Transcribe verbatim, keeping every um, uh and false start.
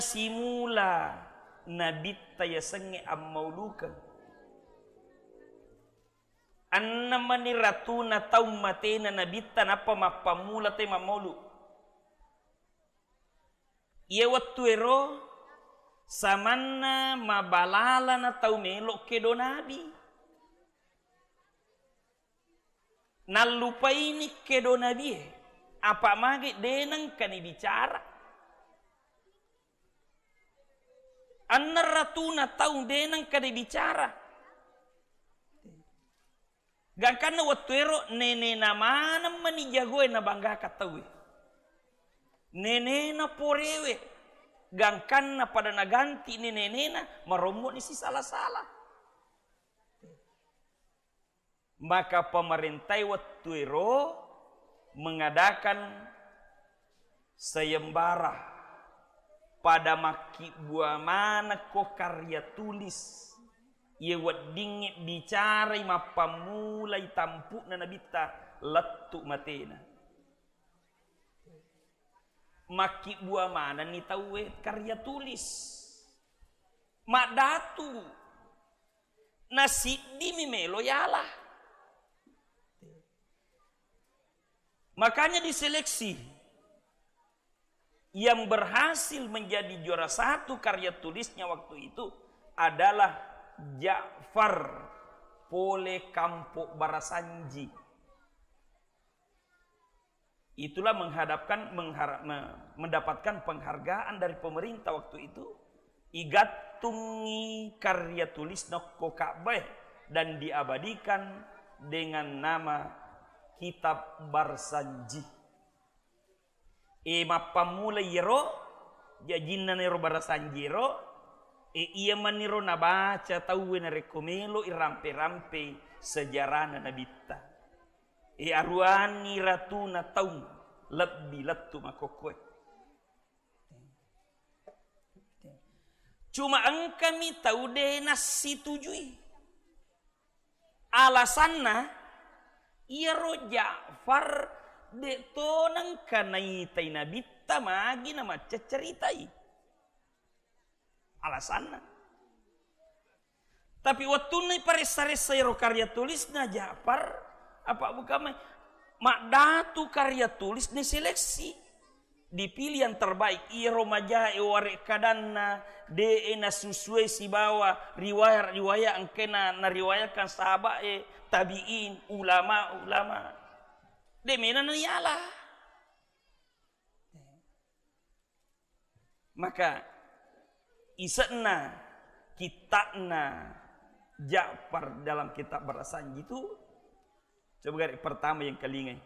simula nabitta yasengnge ammaulukeng. Enneng mani ratuna taung matena nabitta nappa mappammula te mammaulu. Iye wettuero samanna mabalalana tau melo kedo nabi. Nallupaini kedo nabie, apa mage de nengka nibicara. Enneng ratuna taung de nengka nibicara. Gangkanna wettuero nenena maneng mani jagoe nabanggaka tauwe. Nenena porewe, gangkanna pada naganti ni nenena, marommo ni sisala-sala. Maka pemerintai wettuero mengadakan sayembara pada makkibbua manekko karya tulis, iye weddingnge bicarai mappammulai tampu'na nabitta lettu matena. Makkibbua manenni tauwe karya tulis. Maddatu nasiddimi melo yala. Makanya diseleksi. Yang berhasil menjadi juara satu karya tulisnya waktu itu adalah Ja'far pole Kampo Barasanji. Itulah menghadapkan menghara- me- mendapatkan penghargaan dari pemerintah waktu itu. Igattungi karya tulisna okko Ka'bah dan diabadikan dengan nama Kitab Barsanji. E, mappammula iyaro, jajinna nero barasanjiro, e, iya maniro nabaca tauwe narekko melo irampe-rampe sejarahna nabitta. E, aruanni ratuna taung lebbi lettu makkokkoe. Cuma engkami tau de nassitujui. Alasanna, iyaro Ja'far de to nengka naitai nabitta magi namacca ceritai. Alasanna. Tapi wettunna iparessa-ressa iyaro karya tulisna Ja'far, apa bukan mai, maddatu karya tulis ni seleksi. Dipilih yang terbaik, iyaro majae warekkadanna de'e nasusuai sibawa riwayat-riwayat engkena nariwayatkan sahabat e, tabi'in, ulama-ulama. De mena naiala. Maka ise'na kitta'na Ja'far dalam kitab Barasanji itu, coba gare pertama yang kelingai.